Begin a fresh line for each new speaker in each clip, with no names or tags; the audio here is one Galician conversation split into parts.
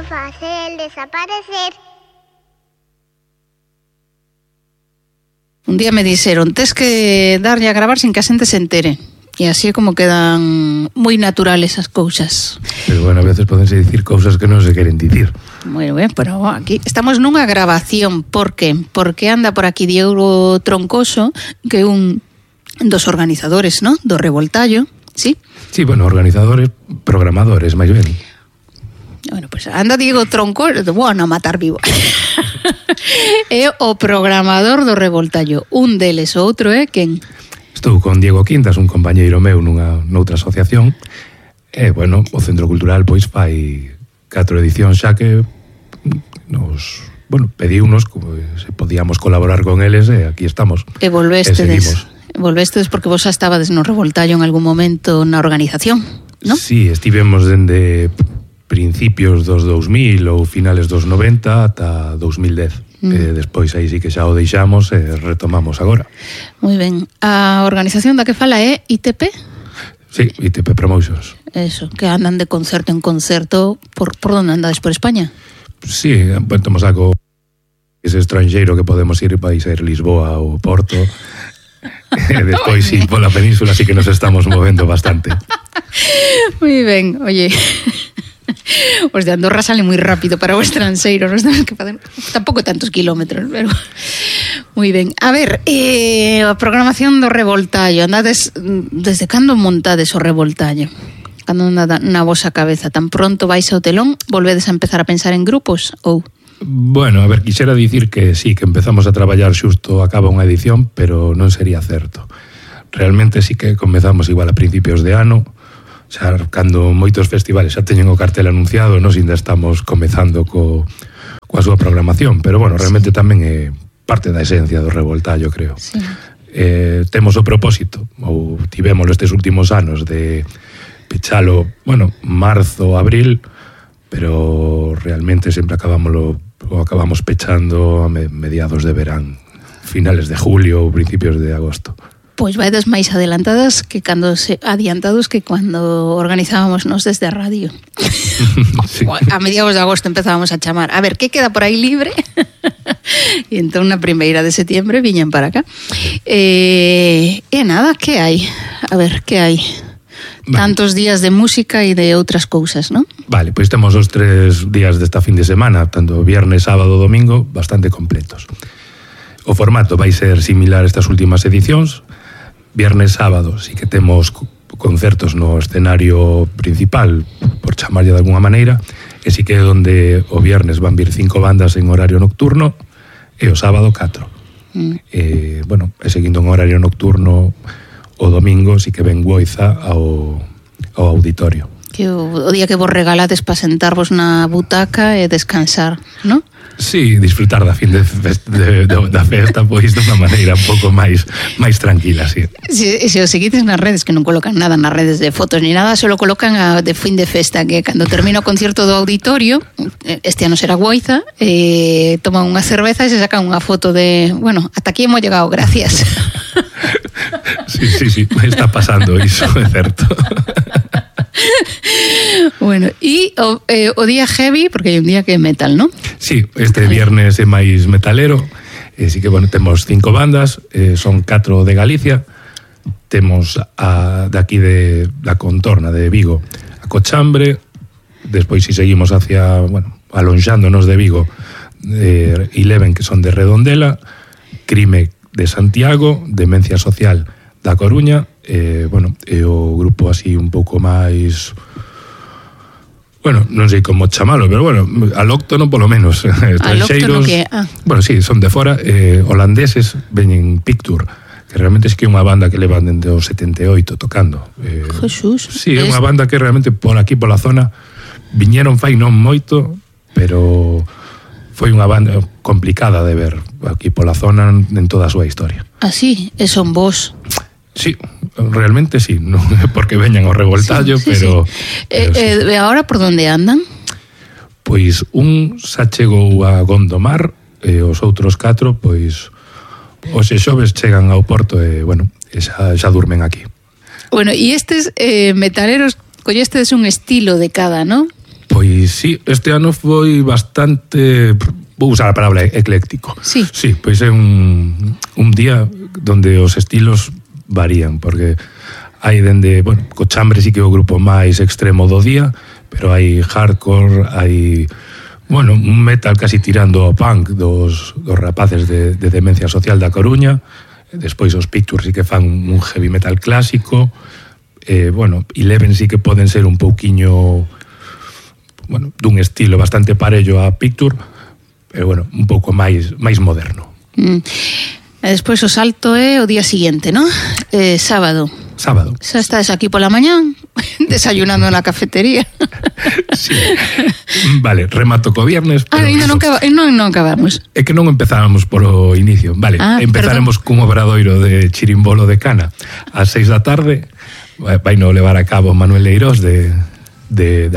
a facer desaparecer.
Un día me dixeron, tes que darlle a gravar sin que a xente se entere. E así é como quedan moi naturales as cousas.
Pero bueno, a veces podense dicir cousas que non se queren dicir.
Bueno, pero aquí estamos nunha grabación. Por que? Porque anda por aquí Diego Troncoso, que é un dos organizadores, ¿no? Do Revoltallo, ¿sí?
Sí, bueno, organizadores, programadores, máis ben.
Bueno, pues anda Diego Troncoso, bueno, a matar vivo. É o programador do Revoltallo. Un deles, o outro é quen?
Estou con Diego Quintas, un compañeiro meu noutra asociación. E, bueno, o Centro Cultural pois fai 4 edicións xa que nos, bueno, pediunos se podíamos colaborar con eles e aquí estamos.
E volvestedes porque vos xa estabades no Revoltallo en algún momento na organización, non?
Sí, estivemos dende principios dos 2000 ou finales dos 90 ata 2010. Despois aí sí que xa o deixamos e retomamos agora.
Moi ben. A organización da que fala é ITP?
Sí, ITP Promotions.
Eso, que andan de concerto en concerto. Por onde andades? Por España?
Sí, temos algo ese estranxeiro que podemos ir para ir Lisboa ou Porto. E despois sí, pola península sí que nos estamos movendo bastante.
Moi ben, oye. Os de Andorra sale moi rápido para o estranxeiro, nos temos que facer tampouco tantos kilómetros, pero moi ben. A ver, a programación do Revoltallo, andades desde cando montades o Revoltallo? Cando anda na vosa cabeza? Tan pronto vais ao telón, volvedes a empezar a pensar en grupos ou?
Bueno, a ver, quixera dicir que sí, que empezamos a traballar xusto acaba unha edición, pero non sería certo. Realmente sí que comezamos igual a principios de ano, xa cando moitos festivales xa teñen o cartel anunciado, nós ainda estamos comezando coa súa programación, pero bueno, realmente tamén é parte da esencia do Revoltallo, creo.
Sí.
Temos o propósito, ou tivémolo estes últimos anos, de pechalo, bueno, marzo, abril, pero realmente sempre acabamos pechando a mediados de verán, finales de julio ou principios de agosto.
Pois vaides máis adiantados que cando organizábamos nos desde a radio. Sí. A mediados de agosto empezábamos a chamar. A ver, que queda por aí libre? E entón na primeira de setiembre viñan para acá. E nada, que hai? A ver, que hai? Tantos días de música e de outras cousas, non?
Vale, pois temos os 3 días desta fin de semana, tanto viernes, sábado, domingo, bastante completos. O formato vai ser similar a estas últimas edicións. Viernes, sábado, sí que temos concertos no escenario principal, por chamarlle de alguna maneira, e sí que é onde o viernes van vir 5 bandas en horario nocturno e o sábado 4. Bueno, e seguindo en horario nocturno, o domingo sí que ven Goiza ao auditorio.
Que o día que vos regalades para sentarvos na butaca e descansar, non?
Sí, disfrutar da fin da festa, pois de unha maneira un pouco máis tranquila, sí.
Se o seguides nas redes, que non colocan nada nas redes de fotos ni nada, solo colocan a de fin de festa, que cando termina o concierto do auditorio, este ano será Goiza, toman unha cerveza e se sacan unha foto de, bueno, ata aquí hemos llegado, gracias.
Sí, está pasando iso, é certo.
Bueno, e o día heavy, porque hai un día que é metal, non?
Sí, este viernes é máis metalero. Sí que, bueno, temos 5 bandas, son 4 de Galicia. Temos de aquí de la contorna de Vigo a Cochambre. Despois, si seguimos hacia, bueno, alonxándonos de Vigo, Eleven, que son de Redondela, Crime de Santiago, Demencia Social da Coruña, bueno, e o grupo así un pouco máis, bueno, non sei como chamalo, pero bueno, alóctono polo menos, estranxeiros, bueno, sí, son de fora, holandeses, veñen Picture, que realmente é que é unha banda que levan dende o 78 tocando.
Jesús.
Sí, é unha banda que realmente por aquí, pola zona, viñeron fai non moito, pero foi unha banda complicada de ver aquí pola zona en toda a súa historia.
Ah, sí? E son vos?
Sí, realmente sí, non é porque veñan ao Revoltallo,
sí,
pero...
Sí. E agora por onde andan?
Pois un xa chegou a Gondomar e os outros 4, pois hoxe xoves chegan ao Porto e, bueno, xa durmen aquí.
Bueno, e estes metaleros collestes un estilo de cada, non?
Pois sí, este ano foi bastante, vou usar a palabra ecléctico.
Sí.
Sí, pois é un día donde os estilos varían, porque hai dende, bueno, Cochambre sí que é o grupo máis extremo do día, pero hai hardcore, hai, bueno, un metal casi tirando ao punk dos rapaces de Demencia Social da Coruña. Despois os Pictures sí que fan un heavy metal clásico. Bueno, Eleven sí que poden ser un pouquiño, bueno, dun estilo bastante parello a Picture, pero bueno, un pouco máis moderno.
E despois o salto é o día seguinte, ¿no? Sábado. Xa estás aquí pola mañán desayunando na cafetería.
Sí. Vale, remato co viernes.
Ainda non acabamos.
É que non empezábamos polo inicio. Vale, empezaremos cun obradoiro de chirimbolo de cana ás 6 da tarde. Vai no levar a cabo Manuel Leirós de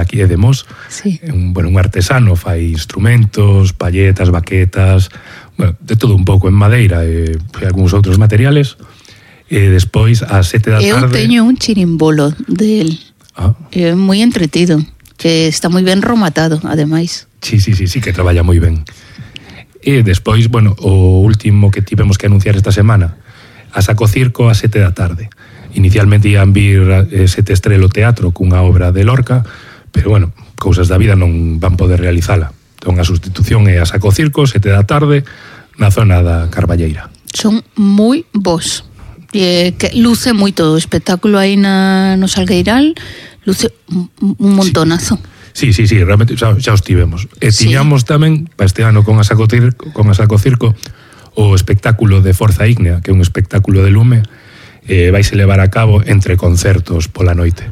aquí de Mos.
Sí.
Un artesano, fai instrumentos, palletas, baquetas, bueno, de todo un pouco en madeira e algúns outros materiales. E despois ás 7 da tarde...
Eu teño un chirimbolo del. É moi entretido, que está moi ben rematado, ademais.
Sí, que traballa moi ben. E despois, bueno, o último que tivemos que anunciar esta semana, a Saco Circo ás 7 da tarde. Inicialmente ian vir Sete Estrelo Teatro cunha obra de Lorca, pero bueno, cousas da vida non van poder realizala. Entón a sustitución é a Saco Circo, 7 da tarde, na zona da Carballeira.
Son moi bons. Que luce moito o espectáculo aí no Salgueiral, luce un montonazo.
Sí, realmente xa os tivemos. E tiñamos tamén, para este ano con a Saco Circo, o espectáculo de Forza Ígnea, que é un espectáculo de lume, vaise levar a cabo entre concertos pola noite.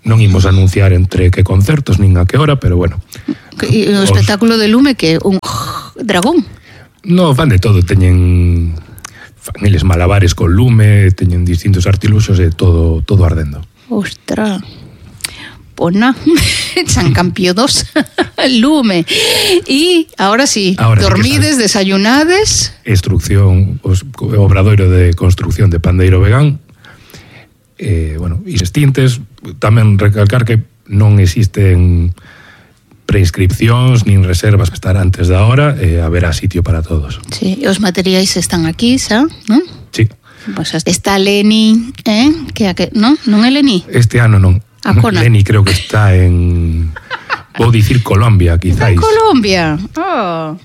Non imos anunciar entre que concertos nin a que hora, pero bueno.
E o espectáculo de lume que un dragón?
No, fan de todo, fan eles malabares con lume, teñen distintos artiluxos e todo ardendo.
Ostras. Pona, San Campio 2, lume. E ahora sí, dormides, sí, desayunades.
Instrucción, obradoiro de construcción de pandeiro vegán. Bueno, e extintes, tamén recalcar que non existen preinscripcións nin reservas que estar antes da hora, haberá sitio para todos.
Sí, e os materiais están aquí, xa, non?
Sí.
Pues está Leni, non é Leni?
Este ano non. Leni creo que está en... Vou dicir Colombia, quizáis.
En Colombia? Oh.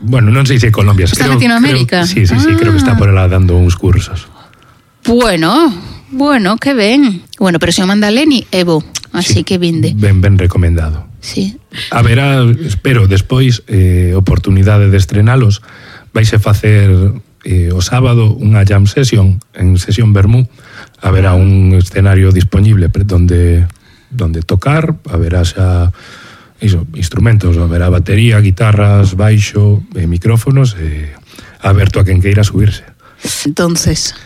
Bueno, non sei se é Colombia.
Está en Latinoamérica?
Sí, creo que está por lá dando uns cursos.
Bueno, que ben. Bueno, pero se o manda Leni, Evo, así que vinde.
Ben recomendado.
Sí.
Haberá, espero, despois oportunidade de estrenalos. Vaise facer o sábado unha jam session en Sesión Bermú. Haberá un escenario disponible donde tocar, haberá xa instrumentos, haberá batería, guitarras, baixo, micrófonos, aberto a quen queira subirse.
Entonces,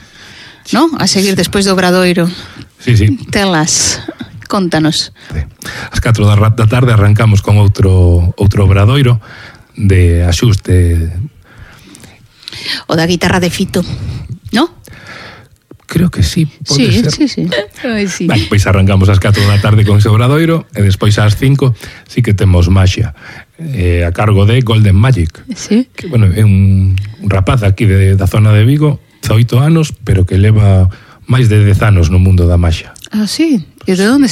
¿no? A seguir despois do Obradoiro.
Sí.
Telas, contanos.
Sí. Ás 4 da tarde arrancamos con outro obradoiro de axuste.
O da guitarra de Fito, ¿no?
Creo que sí, pode ser.
Sí. Sí.
Vale, pois arrancamos ás 4 da tarde con ese obradoiro e despois ás 5 sí que temos Maxia, a cargo de Golden Magic.
Sí.
Que, bueno, é un rapaz aquí da zona de Vigo, 18 anos, pero que leva máis de 10 anos no mundo da maxia.
Ah, sí? E de onde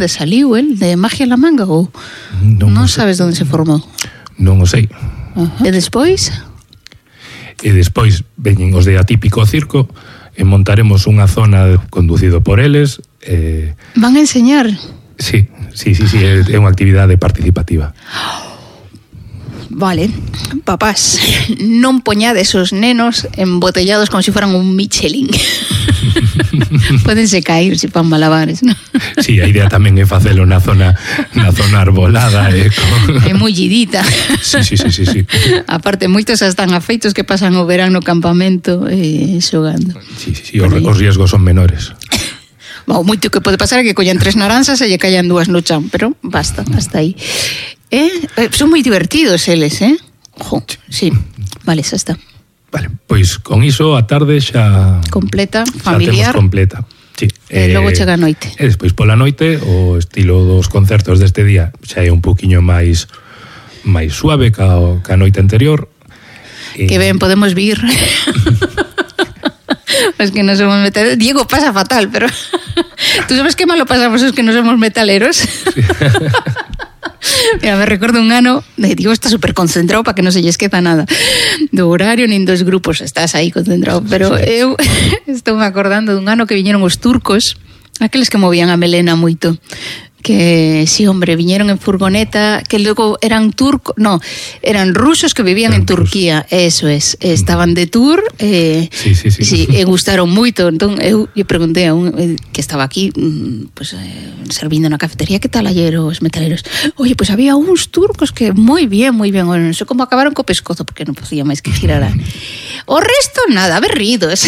saliu el? De Magia en la Manga ou non sabes onde se formou?
Non o sei.
E despois?
E despois veñen os de Atípico Circo e montaremos unha zona conducido por eles.
Van a enseñar?
Sí, é unha actividade participativa.
Vale, papás, non poñades os nenos embotellados como se fueran un Michelin. Pódense cair se fan malabares, ¿no?
Sí, a idea tamén é facelo na zona arbolada e
mullidita.
Sí.
Aparte, moitos están afeitos que pasan o verán no campamento xogando.
Sí, os riesgos son menores.
O moito que pode pasar é que collan 3 naranxas e lle callan 2 no chan, pero basta, hasta aí. Son moi divertidos eles, sí, vale, xa está.
Vale, pois con iso a tarde xa...
Completa, familiar.
Xa temos completa, sí.
E logo chega a noite.
E despois pola noite, o estilo dos concertos deste día xa é un poquinho máis suave ca a noite anterior.
Que ben, podemos vir. Es que no somos metaleros. Diego pasa fatal, pero tú sabes que malo pasamos os que no somos metaleros. Sí. Mira, me recordo un ano de Diego está súper concentrado para que non se lle esqueza nada do horario nin dos grupos, estás aí concentrado, pero eu estou me acordando dun ano que viñeron os turcos, aqueles que movían a melena moito, que sí, hombre, viñeron en furgoneta, que logo eran eran rusos que vivían en Turquía, eso es, estaban de tour, sí, e gustaron moito. Entón eu preguntei a un que estaba aquí, pues servindo na cafetería, que tal ayer os metaleros? Oye, pues había uns turcos que moi bien, bueno, non sei como acabaron co pescozo, porque non podía máis que girar o resto nada, berridos.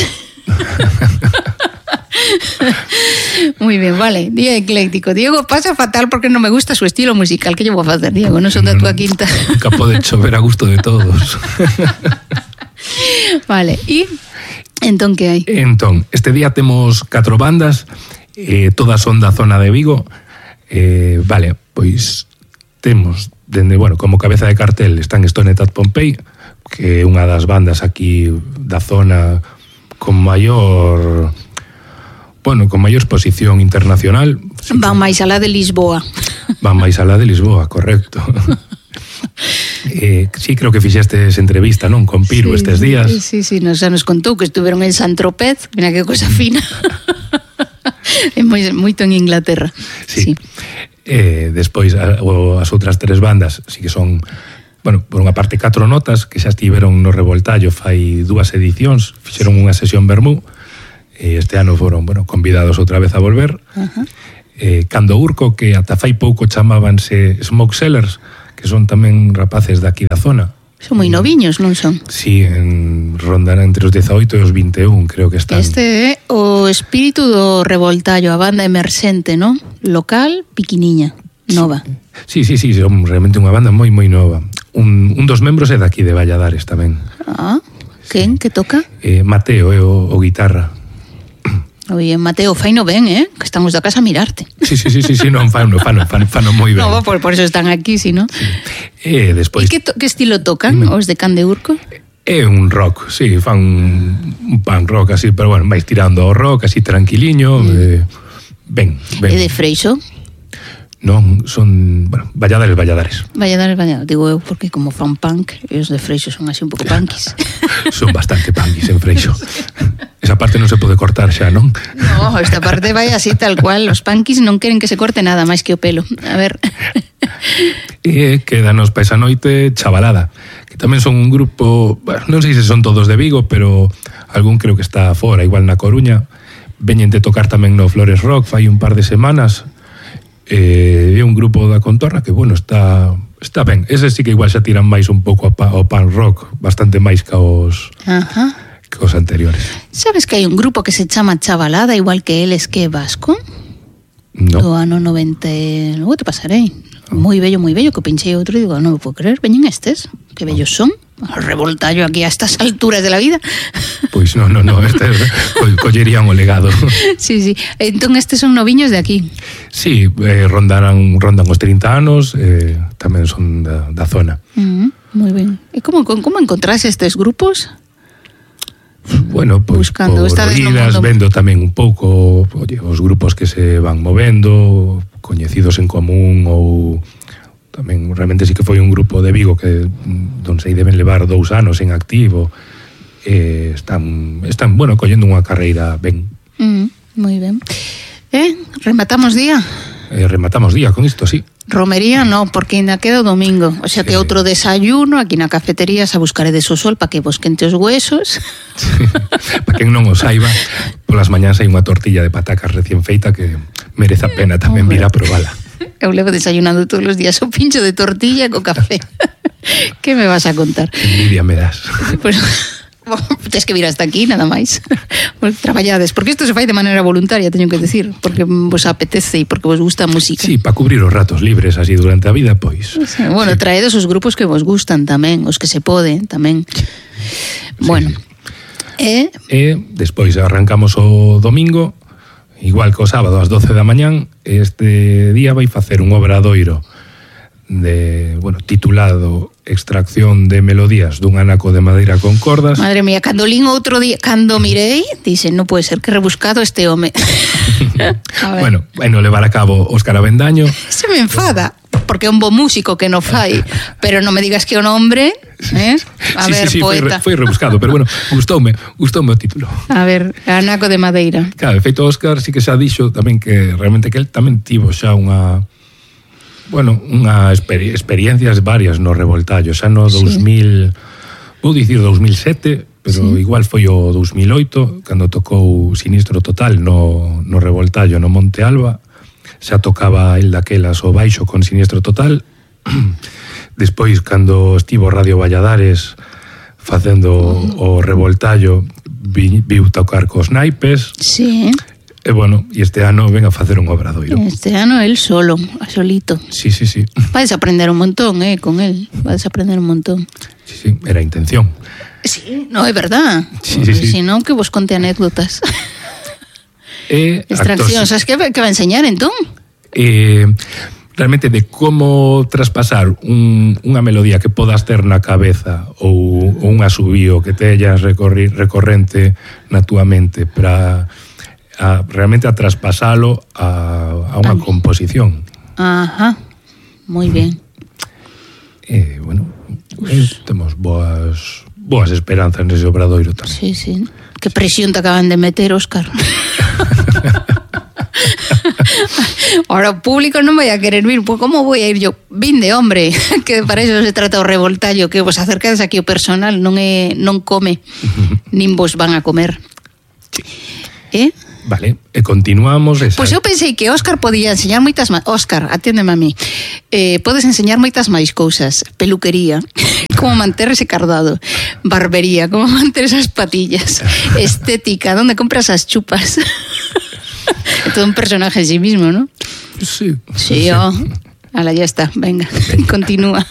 Muy bien, vale, día ecléctico. Diego pasa fatal porque non me gusta su estilo musical. Que llevo a facer, Diego? Non son da túa quinta.
Nunca pode chover a gusto de todos.
Vale, e entón que hai?
Entón, este día temos 4 bandas, todas son da zona de Vigo. Vale, pois temos dende, bueno, como cabeza de cartel están Stone At Pompei, que é unha das bandas aquí da zona con maior exposición internacional.
Van máis alá de Lisboa.
Van máis alá de Lisboa, correcto. Sí, creo que fixestes entrevista, non? Con Piru estes días.
Sí, xa nos contou que estuveron en Saint-Tropez, mira que cosa fina. É moito en Inglaterra.
Sí. Despois, as outras 3 bandas, sí que son, bueno, por unha parte 4 notas, que xa estiveron no Revoltallo fai 2 edicións, fixeron unha sesión vermú. Este ano foron, bueno, convidados outra vez a volver. Cando Urco, que ata fai pouco chamábanse Smoke Sellers, que son tamén rapaces daqui da zona.
Son moi noviños, non son?
Sí, rondan entre os 18 e os 21, creo que están.
Este é o espírito do Revoltallo, a banda emerxente, non? Local, piquiniña, nova.
Sí, son realmente unha banda moi nova. Un dos membros é daqui de Valladares tamén.
Quen? Que toca?
Mateo, é o guitarra.
Oye, Mateo, faino ben, que estamos da casa a mirarte.
Sí, non, fano moi ben.
No, por eso están aquí, si no.
Sí. Despois...
E que estilo tocan os de Can de Urco?
É un rock, sí, fan un punk rock así, pero bueno, máis tirando ao rock, así tranquiliño, ben.
E de Freixo?
Non, son, bueno, Valladares.
Digo eu, porque como fan punk, e os de Freixo son así un pouco punkis.
Son bastante punkis en Freixo. Esa parte non se pode cortar xa, non?
No, esta parte vai así tal cual. Os punkis non queren que se corte nada máis que o pelo. A ver.
E quedanos pa esa noite Chavalada, que tamén son un grupo, bueno, non sei se son todos de Vigo, pero algún creo que está fora, igual na Coruña. Veñen de tocar tamén no Flores Rock fai un par de semanas. É un grupo da contorna que, bueno, está ben. Ese sí que igual xa tiran máis un pouco ao punk rock, bastante máis que os anteriores.
Sabes que hai un grupo que se chama Chavalada, igual que eles, que é vasco?
No.
Do ano 90, logo te pasarei. Moi bello, que pinchei outro e digo, non me puedo creer, veñen estes, que bellos son. Revoltallo aquí a estas alturas de la vida.
Pois non, este collerían o legado.
Sí. Entón estes son noviños de aquí.
Sí, rondan os 30 anos, tamén son da zona.
Moi ben. E como encontrase estes grupos?
Bueno, pois
buscando,
por idas, vendo tamén un pouco, oye, os grupos que se van movendo, coñecidos en común ou tamén realmente sí que foi un grupo de Vigo que non sei, deben levar 2 anos en activo. Están bueno, collendo unha carreira ben.
Moi ben. Rematamos día?
Rematamos día con isto, sí.
Romería no, porque ainda queda o domingo. O sea que outro desayuno aquí na cafetería, a buscaredes o sol para que vos quente os huesos.
Sí. Para quen non o saiba, polas mañás hai unha tortilla de patacas recién feita que merece a pena tamén vir a probala.
Eu levo desayunando todos os días o pincho de tortilla co café. Que me vas a contar?
Envidia me das.
Pues, tens que vir hasta aquí, nada máis. Traballades, porque isto se fai de maneira voluntaria, teño que decir, porque vos apetece e porque vos gusta a música.
Sí, para cubrir os ratos libres así durante a vida, pois.
Bueno, sí. Traedes os grupos que vos gustan tamén, os que se poden tamén. Bueno.
Sí. Despois arrancamos o domingo, igual que o sábado ás 12 da mañán, este día vai facer un obradoiro titulado Extracción de melodías dun anaco de madeira con cordas.
Madre mía, cando lín outro día, cando mirei, dice, non pode ser que rebuscado este home.
Bueno, levar a cabo Óscar Avendaño.
Se me enfada, porque é un bo músico que non fai, pero non me digas que é un hombre, A ver, poeta.
Foi rebuscado, pero bueno, gustoume o título.
A ver, anaco de madeira.
Claro, de feito Óscar sí que xa dixo tamén que realmente que el tamén tivo xa experiencias varias no Revoltallo, xa no 2000, vou dicir 2007, pero igual foi o 2008, cando tocou Sinistro Total no Revoltallo, no Monte Alba, xa tocaba el daquelas o baixo con Sinistro Total. Despois, cando estivo Radio Valladares facendo o Revoltallo, viu tocar cos naipes.
Sí.
E este ano ven a facer un obradoiro.
Este ano el solo, a solito.
Sí.
Vais a aprender un montón, con él. Vais a aprender un montón.
Sí, era a intención.
Sí, no, é verdad.
Sí.
Si non, que vos conte anécdotas. Extraccións, sabes que va a enseñar entón?
Realmente de como traspasar unha melodía que podas ter na cabeza ou un asubío que teñas recorrente na túa mente para realmente a traspasalo a unha composición.
Ajá, moi ben.
Temos boas esperanzas nese obradoiro tamén.
Sí. Que presión te acaban de meter, Óscar. Ahora o público non vai a querer vir, pues como voy a ir yo? Vinde, hombre, que para eso se trata o Revoltallo, que vos acercades aquí o personal, non come, nin vos van a comer.
Vale, e continuamos.
Pois eu pensei que Óscar podía enseñar moitas máis. Óscar, aténdeme a mí. Podes enseñar moitas máis cousas. Peluquería, como manter ese cardado. Barbería, como manter esas patillas. Estética, donde compras as chupas. É todo un personaje en sí mismo, ¿no?
Sí.
Ala, ya está, venga. Continúa.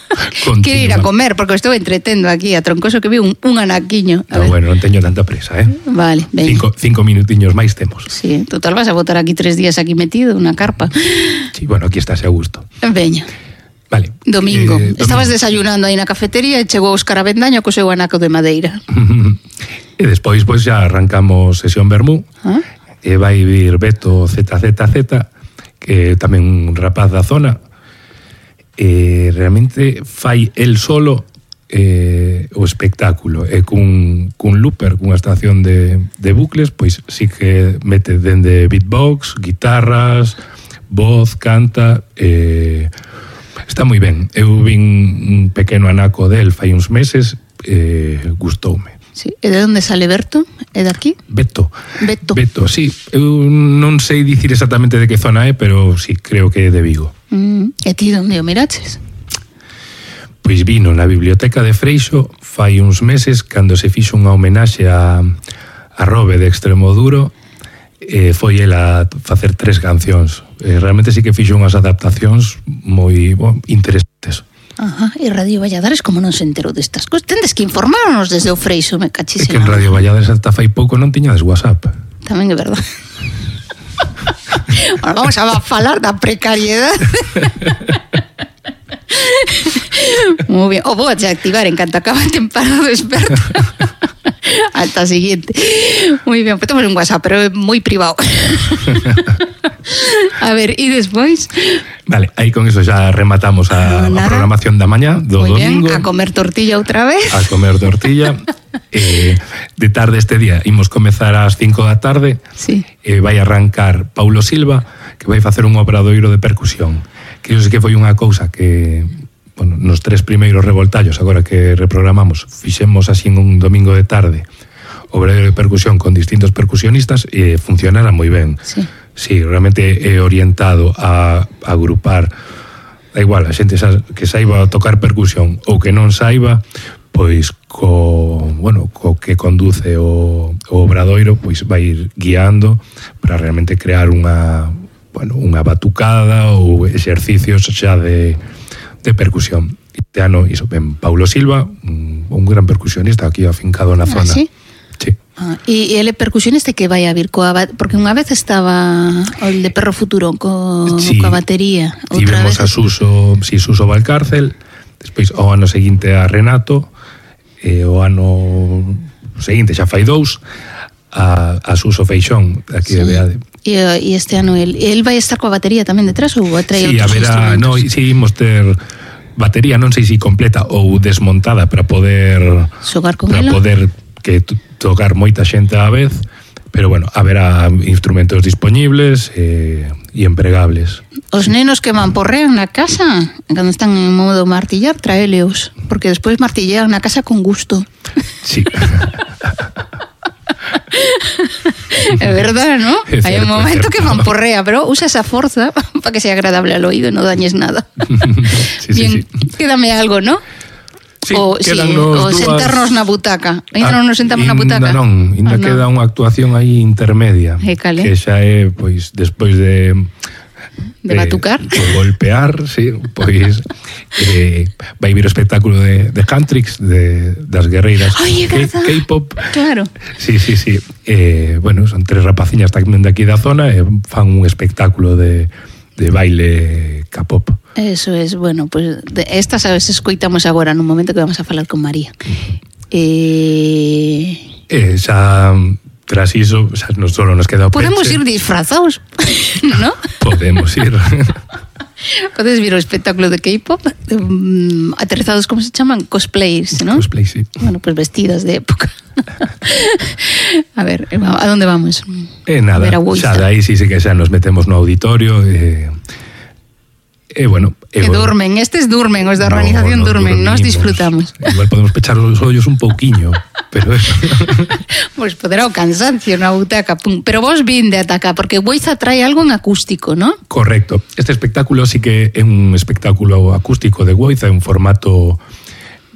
Quiero ir a comer, porque estou entretendo aquí a Troncoso que vi un anaquiño.
Bueno, non teño tanta presa,
Vale, venga.
Cinco minutiños máis temos.
Sí, total vas a botar aquí 3 días aquí metido, unha carpa.
Sí, aquí estás a gusto.
Veña.
Vale.
Domingo. Estabas desayunando aí na cafetería e chegou Óscar Avendaño co seu anaco de madeira.
E despois, xa arrancamos sesión vermú. E vai vir Beto ZZZ, que tamén un rapaz da zona. Realmente fai el solo o espectáculo e cun looper, cunha estación de bucles, pois sí que mete dende beatbox, guitarras, voz, canta, está moi ben. Eu vin un pequeno anaco del fai uns meses, gustoume.
Sí. E de onde sale Berto? É daqui?
Beto, sí. Eu non sei dicir exactamente de que zona é, pero sí, creo que é de Vigo.
E ti onde o miraches?
Pois vino na biblioteca de Freixo fai uns meses cando se fixo unha homenaxe a Robe de Extremoduro, foi ela a facer 3 cancións. Realmente sí que fixo unhas adaptacións moi interesantes.
Ajá, e Radio Valladares como non se enterou destas cousas? Tendes que informarnos desde o Freixo, me cachis.
É que en Radio Valladares hasta fai pouco non tiñades WhatsApp.
Tamén é verdad. Ahora vamos a falar da precariedade. Moi bien. O vou a activar en canto acaba a temporada do experto. Hasta a siguiente. Moi ben, pues temos un WhatsApp, pero é moi privado. A ver, e despois?
Vale, aí con eso xa rematamos a programación da mañá do domingo.
A comer tortilla outra vez.
A comer tortilla. De tarde este día imos comezar ás 5 da tarde.
Sí.
Vai arrancar Paulo Silva, que vai facer un obradoiro de percusión. Que iso sí que foi unha cousa que nos 3 primeiros revoltallos, agora que reprogramamos, fixemos así en un domingo de tarde obradoiro de percusión con distintos percusionistas e funcionara moi ben. Sí, realmente é orientado a agrupar, da igual, a xente que saiba tocar percusión ou que non saiba, pois co que conduce o obradoiro, pois vai ir guiando para realmente crear unha batucada ou exercicios xa de percusión. Este ano iso ben Paulo Silva, un gran percusionista aquí afincado na zona.
Sí?
Sí.
E ele percusionista que vai a vir porque unha vez estaba o de Perro Futuro coa batería.
Tivemos a Suso Valcárcel, despois o ano seguinte a Renato, e o ano seguinte xa fai 2 a Suso Feixón aquí de Beade.
E este ano el vai estar coa batería tamén detrás ou vai traer outros instrumentos?
Sí, imos ter batería, non sei se completa ou desmontada para poder
xogar con ela,
para poder que tocar moita xente á vez, pero bueno, haberá instrumentos disponibles e empregables.
Os nenos que mamporrean na casa, cando están en modo martillar, traéleos, porque despois martillean na casa con gusto.
Sí.
É verdad, ¿no? Hai un momento que mamporrea, pero usa esa forza para que sea agradable al oído e non dañes nada. Bien, quédame algo, ¿no?
Sí,
o sentarnos na butaca. Ainda non nos sentamos na butaca?
Ainda queda unha actuación aí intermedia, que xa é, pois, despois de
batucar,
de golpear, sí, pois vai vir o espectáculo de Cantrix, das guerreiras K-pop.
Claro.
Sí. Bueno, son 3 rapaciñas tamén de aquí da zona e fan un espectáculo de baile K-pop.
Eso es, bueno, pues estas a veces escoitamos agora nun momento que vamos a falar con María.
Xa tras iso, xa non solo nos queda o
podemos ir disfrazados, ¿no?
Podemos ir.
Podes vir o espectáculo de K-pop, aterrizados, como se chaman? Cosplayers, ¿no?
Cosplay, sí.
Bueno, pues vestidas de época. A ver, ¿a dónde vamos?
Nada, xa dai sí que xa nos metemos no auditorio bueno,
durmen, durmen, os da organización durmen, nos disfrutamos.
Igual podemos pechar os ollos un pouquiño, pero eso.
Pois poderá o cansancio na butaca, pero vos vinde ata acá, porque Boiza trae algo en acústico, ¿no?
Correcto. Este espectáculo sí que é un espectáculo acústico de Boiza, en formato,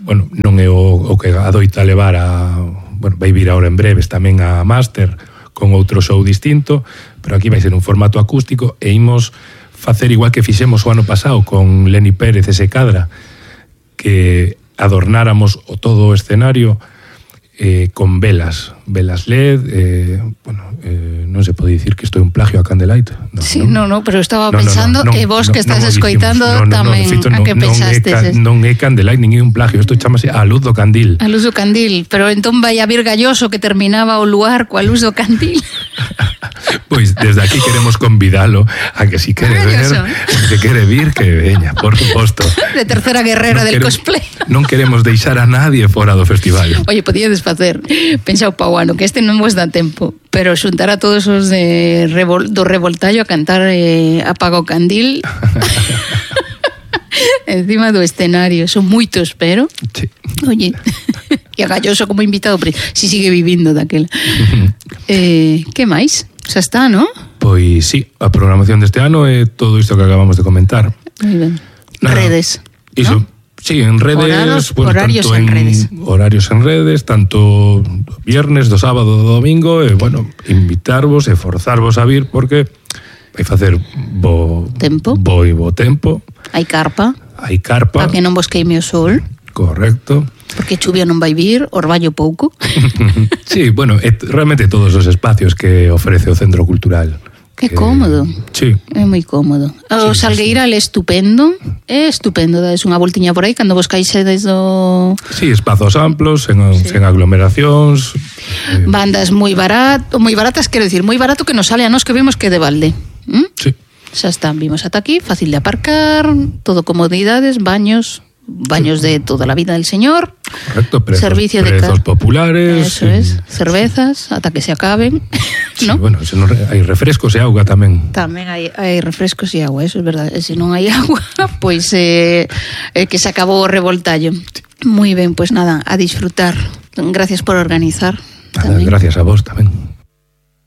bueno, non é o que adoita levar bueno, vai vir ahora en breves tamén a Máster con outro show distinto, pero aquí vai ser un formato acústico e imos facer igual que fixemos o ano pasado con Lenny Pérez e Secadra, que adornáramos todo o escenario con velas LED, bueno, non se pode dicir que isto é un plagio a Candlelight.
No, pero estaba pensando e vos que estás escoitando tamén, a que pensastes?
Non é Candlelight, nin é un plagio, isto chamase A Luz do Candil.
A Luz do Candil, pero entón vai a vir Galloso que terminaba o luar coa Luz do Candil.
Pois desde aquí queremos convidalo a que si quere ver, que quere vir, que veña, por suposto.
De tercera guerrera del cosplay.
Non queremos deixar a nadie fora do festival.
Oye, podíades facer, pensao pa o ano, que este non vos dá tempo, pero xuntar a todos os do Revoltallo a cantar Apaga o Candil encima do escenario. Son moitos, pero
sí.
Oye, e a Galloso como invitado, si sigue vivindo daquela. Que máis? Xa está, ¿no?
Pois sí, a programación deste ano é todo isto que acabamos de comentar.
Moi ben. Redes,
iso,
¿no?
Sí, en redes,
horarios en redes.
Horarios en redes, tanto viernes, do sábado, do domingo, e bueno, invitarvos e forzarvos a vir porque vai facer bo tempo.
Hai carpa.
Para
que non vos queime o sol.
Correcto.
Porque chuvia non vai vir, orballo pouco.
Sí, bueno, realmente todos os espacios que ofrece o Centro Cultural.
Que cómodo.
Sí.
É moi cómodo. O Salgueiral é estupendo. É estupendo, dades unha voltiña por aí cando vos caixedes do...
Sí, espazos amplos, sen aglomeracións.
Bandas moi baratas, quero dicir, moi barato que nos sale a nós que vemos que de balde.
Sí.
Xa están, vimos ata aquí, fácil de aparcar, todo comodidades, baños de toda la vida del señor.
Correcto,
servicio
prezos populares.
Eso es, cervezas, ata que se acaben.
Sí,
¿no?
Bueno, hai refrescos e auga tamén.
Tamén hai refrescos e agua, eso es verdad. Se non hai agua, pois que se acabou o Revoltallo. Moi ben, pois nada, a disfrutar. Gracias por organizar.
Nada, gracias a vos tamén.